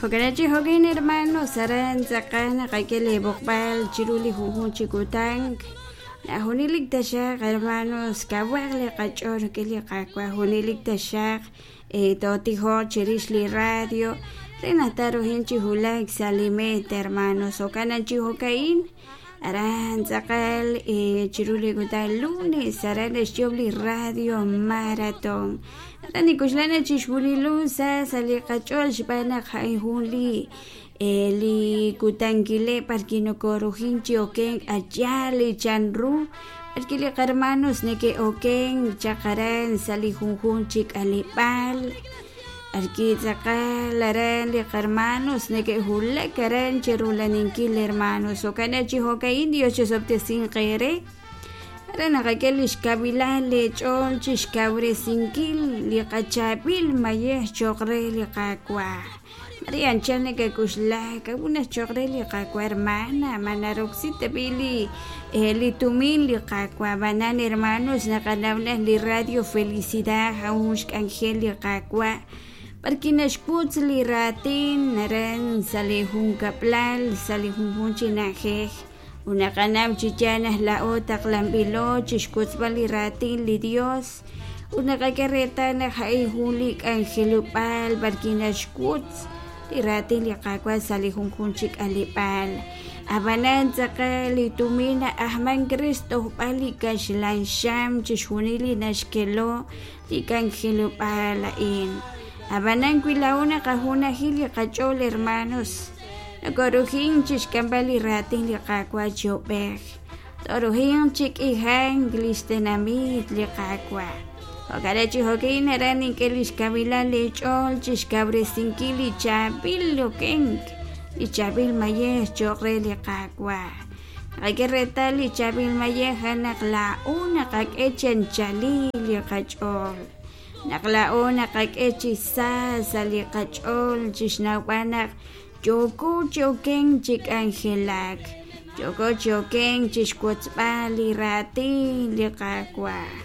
Jo'kan chi jo'kan hermanos aran tz'aqal naqak'e lee b'oqb'al chiru li junjunq chi kutan. Junelik taxaq hermanos kawaq li qach'ool rik'in li Qaawa', junelik taxaq tootijoq chirix li radio re naq taaruhanq chi wulak sa' li meta hermanos. Jo'kan chi jo'ka'in aran tz'aqal chiru li kutan lunes aran naxyoob' li radio maratón. Aran nik'oxla naq chixjunilo sa sa' li qach'ool xb'aan naq a'in jun li li kutankileb' b'arwi' nokoruhin chi okenk a' yaal li chanru b'arwi' li qahermanos neke'okenk chaq aran sa' li junjunq chi k'aleb'aal b'arwi' tz'aqal aran li qahermanos neke'wulak aran chi rula'aninkil hermanos. Jo'kan chi jo'ka'in Dios chisob'tesinq eere aran naqak'e li xkawilal leech'ool chi xkawresinkil li qachaab'il mayej cho'q re li Qaawa'. Mare anchal nakak'oxla k'a'ut naq cho'q re li Qaawa' hermana ma naroksi tab'i' li li tumin li Qaawa'. Ab'anan hermanos naqanaw naq li radio Felicidad a'an jun xk'anjel li Qaawa' b'arwi' naxwotz li raatin aran sa' li junkab'lal sa' li junjunq chi na'ajej ut naqanaw chi yaal naq laa'o taqlanb'ilo chi xwotzb'al li raatin li Dios ut naqak'e reetal naq a'in jun li k'anjelob'aal b'arwi' naxwotz li raatin li Qaawa' sa' li junjunq chi k'aleb'aal. Ab'anan tz'aqal li tumin na'ajmank re xtojb'al li kaxlan xam chixjunil li naxkelo li k'anjelob'aal a'in. Ab'anan wi laa'o naqajunaji li qach'ool hermanos, nokorujink chi xk'amb'al li raatin li Qaawa' chi ub'ej. Tooruhinq chi k'ihank li xtenamit li Qaawa'. Jo'kan chi jo'kin aran nink'e li xkawilal leech'ool chi xkawresinkil li chaab'il okenk, li chaab'il mayej cho'q re li Qaawa'. Naqak'e reetal li chaab'il mayej a'an naq laa'o naqak'e chi anchalil li qach'ool, naq laa'o naqak'e chi sa sa' li qach'ool chi xnawb'al naq Yooko chi okenk chi k'anjelak, yooko chi okenk chi xwotzb'al li raatin li Qaawa'.